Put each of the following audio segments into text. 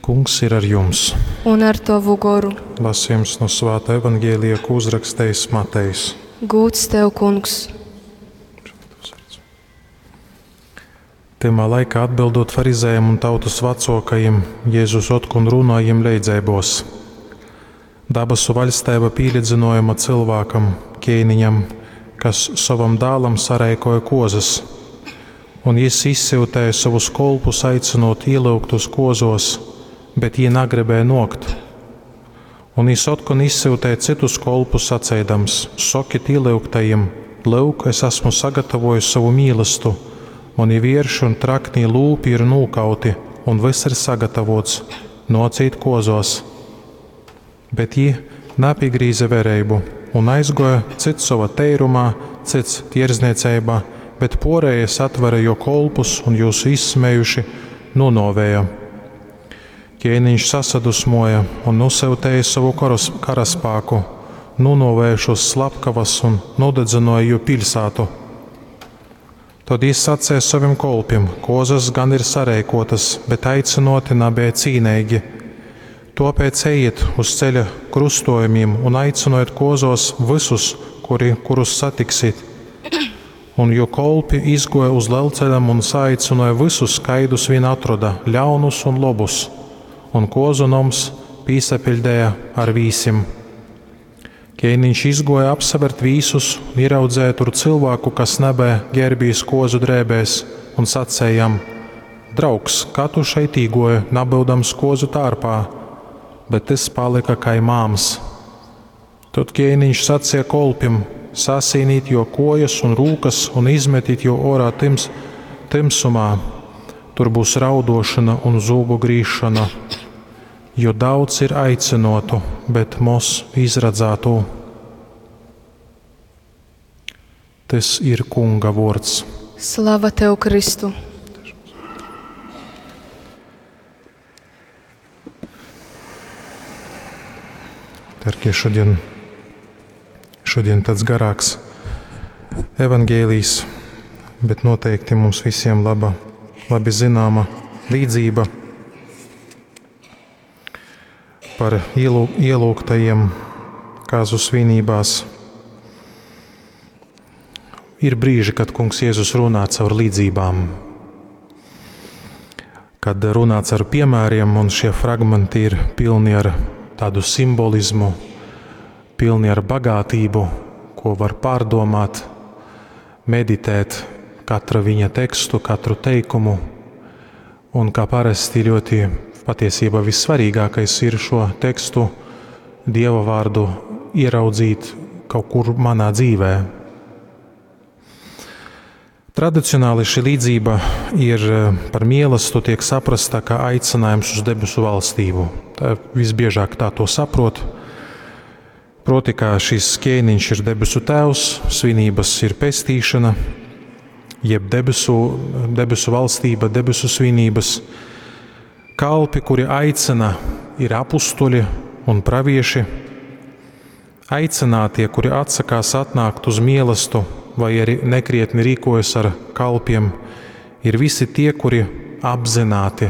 Kungs ir ar jums! Un ar tovu goru. Lasījums no Svāta Evangelija, ko uzrakstījis Matejs. Gūds tev, kungs! Tymā laikā atbildot farizējiem un tautas vecākajiem, Jēzus otkon runāja jiem leidzeibos. Dabasu vaļstība pīlīdzinojama cilvēkam, ķēniņam, kas savam dālam sareikoja kozas, un jis izsyutēja savus kolpus aicinot ielūgtus kozos, bet jī nagribēja nokt. Un jis otkon izsyutēja citus kolpus saceidams: Sokit ielūgtajiem, lūk, es esmu sagatavojis savu mīlestu, mani vierši un traknī lūpi ir nūkauti, un viss ir sagatavots, nocīt kozos. Bet jī napīgrīze vereibu un aizgoja cits sova teirumā, cits tierzniecībā, bet porējie satvera jo kolpus un jūs izsmējuši nonovēja. Ķēniņš sasadusmoja un nosūtīja savu karas, karaspāku, nonovēja šos slepkavas un nodedzināja jo pilsētu. Tad jis sacīja saviem kolpiem: Kozas gan ir sareikotas, bet aicinoti nabija cīnīgi. Tāpēc ejiet uz ceļa krustojumiem un aicinojiet kozos visus, kuri, kurus satiksiet. Un jo kolpi izgoja uz lielceļam un saaicināja visus, kaidus vien atrada, ļaunus un lobus, un kozu noms pīsapiļdēja ar vīsim. Ķēniņš izgoja apsavert vīsus un ieraudzēja tur cilvēku, kas nebē ģērbīs kozu drēbēs, un sacēja jam: Draugs, kā tu šeit īgoji, nabildams kozu tārpā? Bet tas palika kai māms. Tad ķēniņš sacīja kolpim: Sasīnīt jo kojas un rūkas un izmetīt jo orā tims, timsumā. Tur būs raudošana un zūbu grīšana, jo daudz ir aicinotu, bet mos izradzātu. Tas ir Kunga vārds. Slava tev, Kristu! Dargie, šodien, šodien tāds garāks evangēlijs, bet noteikti mums visiem laba, labi zināma līdzība par ielū, ielūgtajiem kāzu svinībās. Ir brīži, kad Kungs Jēzus runā caur līdzībām, kad runā caur piemēriem, un šie fragmenti ir pilni ar tādu simbolismu, pilni ar bagātību, ko var pārdomāt, meditēt katra viņa tekstu, katru teikumu. Un kā parasti ļoti patiesībā vissvarīgākais ir šo tekstu, Dieva vārdu ieraudzīt kaut kur manā dzīvē. Tradicionāli šī līdzība ir par mīlestību, tiek saprasta kā aicinājums uz debesu valstību. Tā visbiežāk tā to saprot. Proti, kā šis ķēniņš ir debesu tēvs, svinības ir pestīšana, jeb debesu, debesu valstība, debesu svinības. Kalpi, kuri aicina, ir apustuļi un pravieši. Aicinātie, kuri atsakās atnākt uz mīlestību, vai arī nekrietni rīkojas ar kalpiem, ir visi tie, kuri apzināti,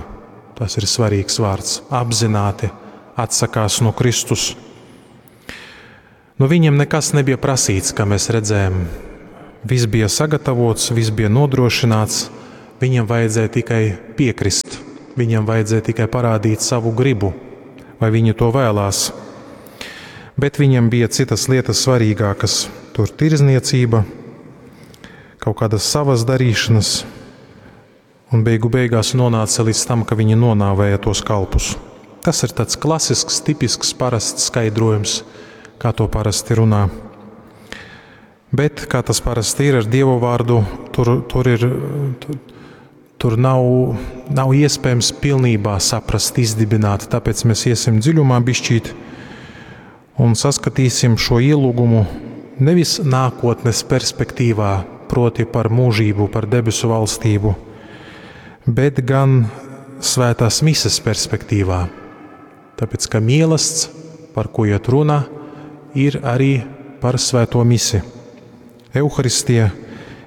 tas ir svarīgs vārds, apzināti atsakās no Kristus. No viņiem nekas nebija prasīts, kā mēs redzējām. Viss bija sagatavots, viss bija nodrošināts, viņiem vajadzēja tikai piekrist, viņiem vajadzēja tikai parādīt savu gribu, vai viņi to vēlās. Bet viņiem bija citas lietas svarīgākas - tur tirzniecība, kaut kādas savas darīšanas, un beigu beigās nonāca līdz tam, ka viņi nonāvēja tos kalpus. Tas ir tāds klasisks, tipisks, parasts skaidrojums, kā to parasti runā. Bet, kā tas parasti ir ar Dievu vārdu, tur, tur, ir, tur, tur nav, nav iespējams pilnībā saprast, izdibināt, tāpēc mēs iesim dziļumā bišķīt un saskatīsim šo ielūgumu nevis nākotnes perspektīvā, proti par mūžību, par debesu valstību, bet gan svētās mises perspektīvā. Tāpēc, ka mielasts, par ko iet runa, ir arī par svēto misi. Euharistija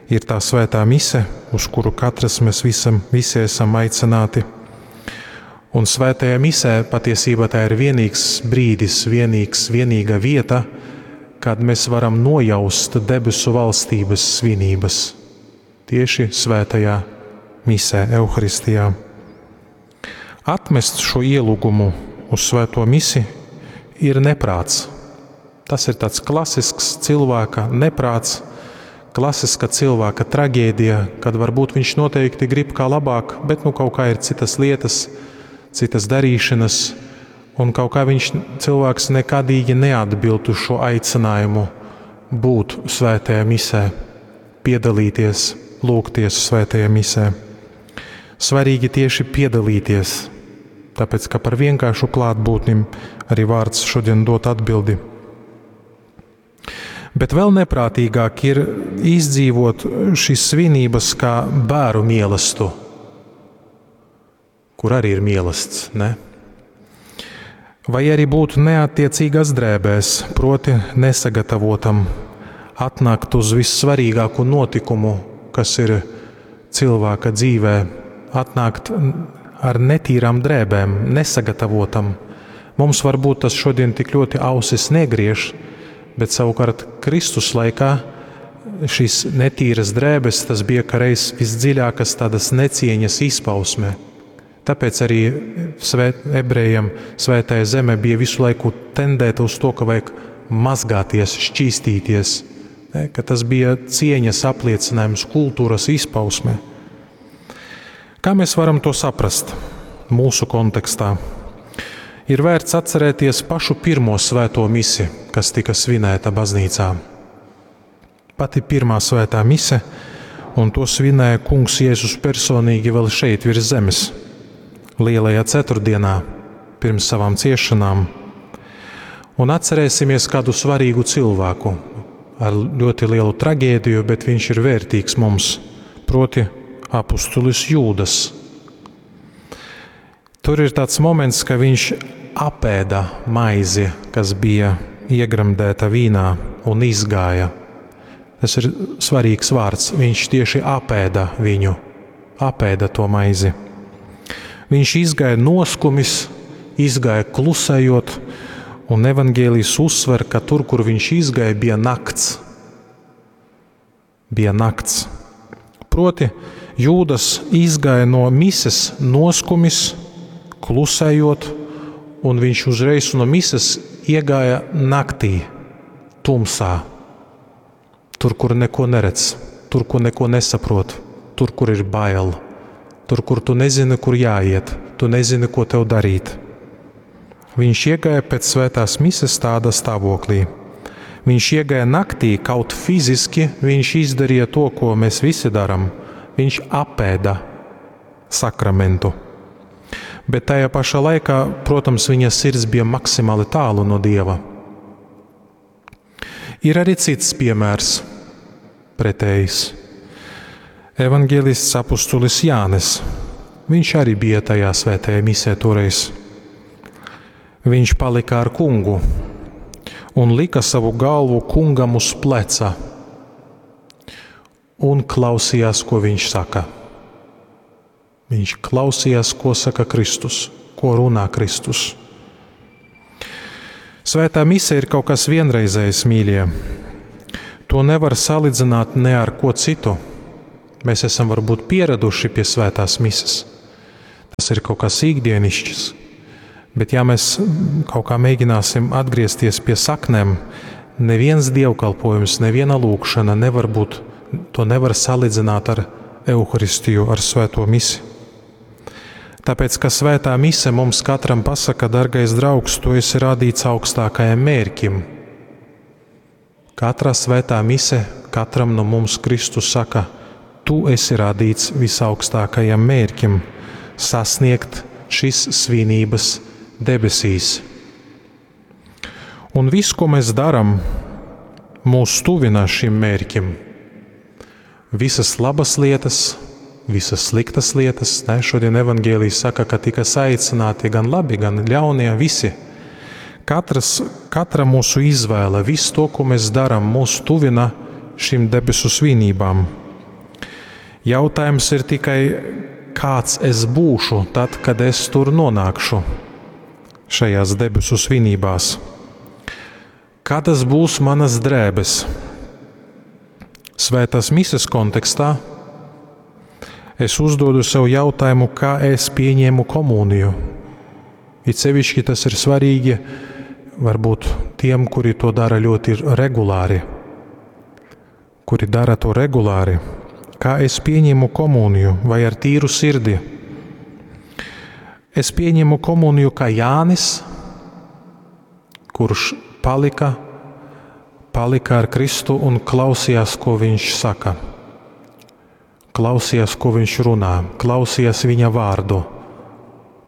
ir tā svētā mise, uz kuru katrs mēs visam, visi esam aicināti. Un svētajā misē patiesībā tā ir vienīgs brīdis, vienīgs, vienīga vieta, kad mēs varam nojaust debesu valstības svinības. Tieši svētajā misē, Euharistijā. Atmest šo ielūgumu uz svēto misi ir neprāts. Tas ir tāds klasisks cilvēka neprāts, klasiska cilvēka traģēdija, kad varbūt viņš noteikti grib kā labāk, bet nu kaut kā ir citas lietas, citas darīšanas, un kaut kā viņš cilvēks nekadīgi neatbild uz šo aicinājumu būt svētajā misē, piedalīties, lūgties svētajā misē. Svarīgi tieši piedalīties, tāpēc ka par vienkāršu klātbūtni arī vārds šodien dot atbildi. Bet vēl neprātīgāk ir izdzīvot šīs svinības kā bēru mielastu, kur arī ir mielasts, ne? Vai arī būt neattiecīgās drēbēs, proti nesagatavotam, atnākt uz vissvarīgāko notikumu, kas ir cilvēka dzīvē, atnākt ar netīrām drēbēm, nesagatavotam. Mums varbūt tas šodien tik ļoti ausis negriež, bet savukārt Kristus laikā šīs netīras drēbes, tas bija kā reiz visdziļākas tādas necieņas izpausme. Tāpēc arī ebrejiem svētajā zeme bija visu laiku tendēta uz to, ka vajag mazgāties, šķīstīties, ne, ka tas bija cieņas apliecinājums, kultūras izpausme. Kā mēs varam to saprast mūsu kontekstā? Ir vērts atcerēties pašu pirmo svēto misi, kas tika svinēta baznīcā. Pati pirmā svētā mise, un to svinēja Kungs Jēzus personīgi vēl šeit virs zemes, lielajā ceturtdienā, pirms savām ciešanām. Un atcerēsimies kādu svarīgu cilvēku ar ļoti lielu traģēdiju, bet viņš ir vērtīgs mums, proti apustulis Jūdas. Tur ir tāds moments, ka viņš apēda maizi, kas bija iegremdēta vīnā, un izgāja. Tas ir svarīgs vārds. Viņš tieši apēda viņu, apēda to maizi. Viņš izgāja noskumis, izgāja klusējot, un evaņģēlijs uzsver, ka tur, kur viņš izgāja, bija nakts. Bija nakts. Proti, Jūdas izgāja no mises noskumis, klusējot, un viņš uzreiz no mises iegāja naktī, tumsā. Tur, kur neko neredz, tur, kur neko nesaprot, tur, kur ir bail, tur, kur tu nezini, kur jāiet, tu nezini, ko tev darīt. Viņš iegāja pēc svētās mises tādā stāvoklī. Viņš iegāja naktī, kaut fiziski viņš izdarīja to, ko mēs visi darām. Viņš apēda sakramentu. Bet tajā pašā laikā, protams, viņa sirds bija maksimāli tālu no Dieva. Ir arī cits piemērs, pretējs. Evanģēlists apustulis Jānis. Viņš arī bija tajā svētajā misē toreiz. Viņš palika ar kungu un lika savu galvu kungam uz pleca un klausījās, ko viņš saka. Viņš klausījās, ko saka Kristus, ko runā Kristus. Svētā mise ir kaut kas vienreizējs, mīļie. To nevar salīdzināt ne ar ko citu. Mēs esam varbūt pieraduši pie svētās mises. Tas ir kaut kas ikdienišķs. Bet ja mēs kaut kā mēģināsim atgriezties pie saknēm, neviens dievkalpojums, neviena lūgšana nevar būt, to nevar salīdzināt ar Euharistiju, ar svēto misi. Tāpēc, ka svētā mise mums katram pasaka, dargais draugs, tu esi radīts augstākajam mērķim. Katrā svētā mise katram no mums Kristus saka, tu esi radīts visaugstākajam mērķim - sasniegt šīs svinības debesīs. Un viss, ko mēs darām, mūs tuvina šim mērķim. Visas labas lietas, visas sliktas lietas. Ne? Šodien evaņģēlijs saka, ka tika saicināti gan labi, gan ļaunie, visi. Katras, katra mūsu izvēle, viss to, ko mēs darām, mūs tuvina šīm debesu svinībām. Jautājums ir tikai, kāds es būšu tad, kad es tur nonākšu šajās debesu svinībās. Kādas būs manas drēbes? Svētās mises kontekstā es uzdodu sev jautājumu, kā es pieņēmu komuniju. It sevišķi tas ir svarīgi varbūt tiem, kuri to dara ļoti regulāri. Kuri dara to regulāri. Kā es pieņemu komuniju, vai ar tīru sirdi? Es pieņemu komuniju kā Jānis, kurš palika ar Kristu un klausījās, ko viņš saka. Klausījās, ko viņš runā, klausījās viņa vārdu,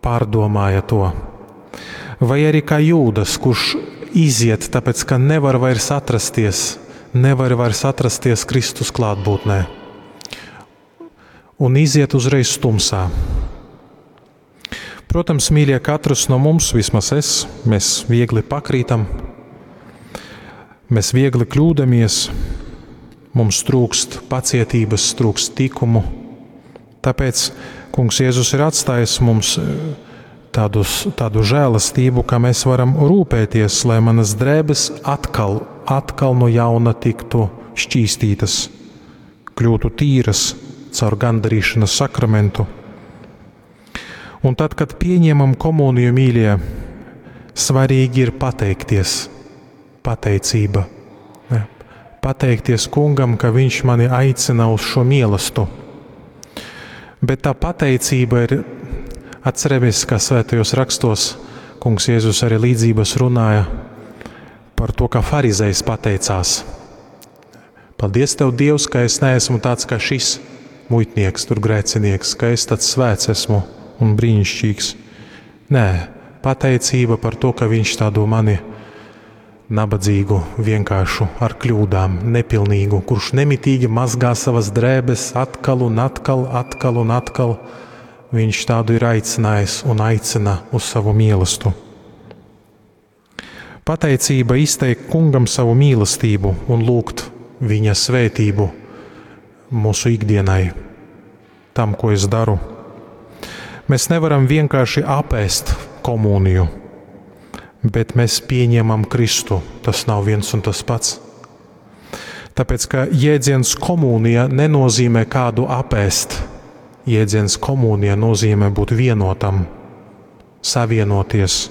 pārdomāja to. Vai arī kā Jūdas, kurš iziet, tāpēc ka nevar vairs atrasties, nevar vairs atrasties Kristus klātbūtnē. Un iziet uzreiz tumsā. Protams, mīļie, katrs no mums, vismaz es, mēs viegli pakrītam, mēs viegli kļūdamies, mums trūkst pacietības, trūkst tikumu. Tāpēc Kungs Jēzus ir atstājis mums tādu žēlastību, ka mēs varam rūpēties, lai manas drēbes atkal no jauna tiktu šķīstītas, kļūtu tīras caur gandarīšanas sakramentu. Un tad, kad pieņemam komuniju, mīļie, svarīgi ir pateikties, pateicība. Ne? Pateikties kungam, ka viņš mani aicina uz šo mielastu. Bet tā pateicība ir, atceramies, kā svētajos rakstos kungs Jēzus arī līdzības runāja par to, kā farizejs pateicās. Paldies tev, Dievs, ka es neesmu tāds kā šis muitnieks, tur grēcinieks, ka es tāds svēts esmu un brīnišķīgs. Nē, pateicība par to, ka viņš tādu mani nabadzīgu, vienkāršu, ar kļūdām, nepilnīgu, kurš nemitīgi mazgā savas drēbes atkal un atkal, atkal un atkal, viņš tādu ir aicinājis un aicina uz savu mielastu. Pateicība izteikt kungam savu mīlestību un lūgt viņa svētību mūsu ikdienai, tam, ko es daru. Mēs nevaram vienkārši apēst komuniju, bet mēs pieņemam Kristu. Tas nav viens un tas pats. Tāpēc, ka jēdziens komunija nenozīmē kādu apēst. Jēdziens komunija nozīmē būt vienotam, savienoties.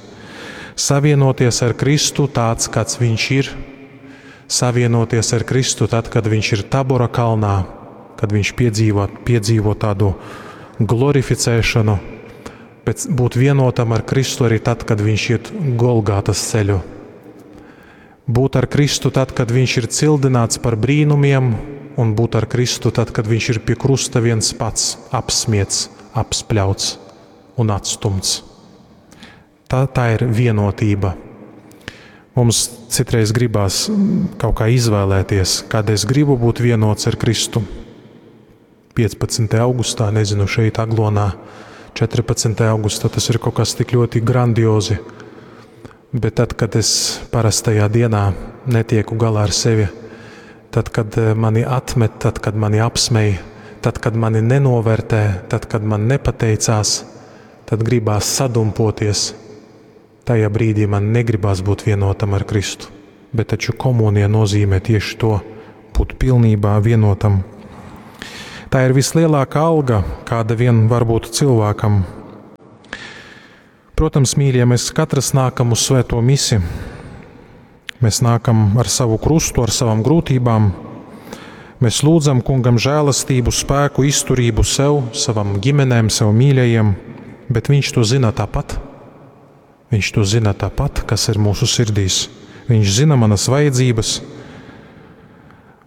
Savienoties ar Kristu tāds, kāds viņš ir. Savienoties ar Kristu tad, kad viņš ir Tabora kalnā, kad viņš piedzīvo tādu glorificēšanu, bet būt vienotam ar Kristu arī tad, kad viņš iet Golgātas ceļu. Būt ar Kristu tad, kad viņš ir cildināts par brīnumiem, un būt ar Kristu tad, kad viņš ir pie krusta viens pats, apsmiets, apspļauts un atstumts. Tā ir vienotība. Mums citreiz gribās kaut kā izvēlēties, kad es gribu būt vienots ar Kristu. 15. augustā, nezinu, šeit Aglonā, 14. augustā, tas ir kaut kas tik ļoti grandiozi. Bet tad, kad es parastajā dienā netieku galā ar sevi, tad, kad mani atmet, tad, kad mani apsmej, tad, kad mani nenovērtē, tad, kad man nepateicās, tad gribās sadumpoties. Tajā brīdī man negribās būt vienotam ar Kristu. Bet taču komunija nozīmē tieši to, būt pilnībā vienotam. Tā ir vislielākā alga, kāda vien var būt cilvēkam. Protams, mīļie, mēs katrs nākam uz svēto misi. Mēs nākam ar savu krustu, ar savām grūtībām. Mēs lūdzam kungam žēlastību, spēku, izturību sev, savam ģimenēm, sev mīļajiem, bet viņš to zina tāpat. Viņš to zina tāpat, kas ir mūsu sirdīs. Viņš zina manas vajadzības.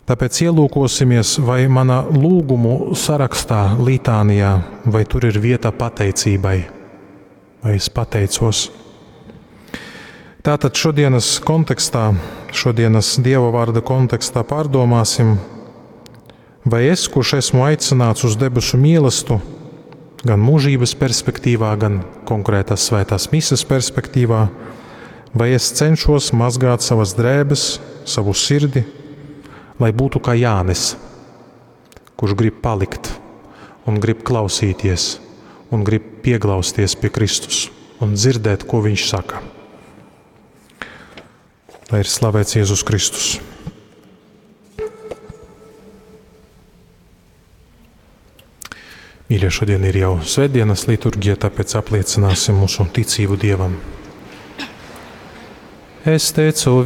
Tāpēc ielūkosimies, vai mana lūgumu sarakstā, litānijā, vai tur ir vieta pateicībai, vai es pateicos. Tātad šodienas kontekstā, šodienas Dieva vārda kontekstā pārdomāsim, vai es, kurš esmu aicināts uz debesu mielastu, gan mūžības perspektīvā, gan konkrētās svētās mises perspektīvā, vai es cenšos mazgāt savas drēbes, savu sirdi, lai būtu kā Jānis, kurš grib palikt un grib klausīties, un grib pieglausties pie Kristus un dzirdēt, ko viņš saka. Lai ir slavēts Jēzus Kristus. Mīļie, šodien ir jau svētdienas liturģija, tāpēc apliecināsim mūsu ticību Dievam. Es teicu.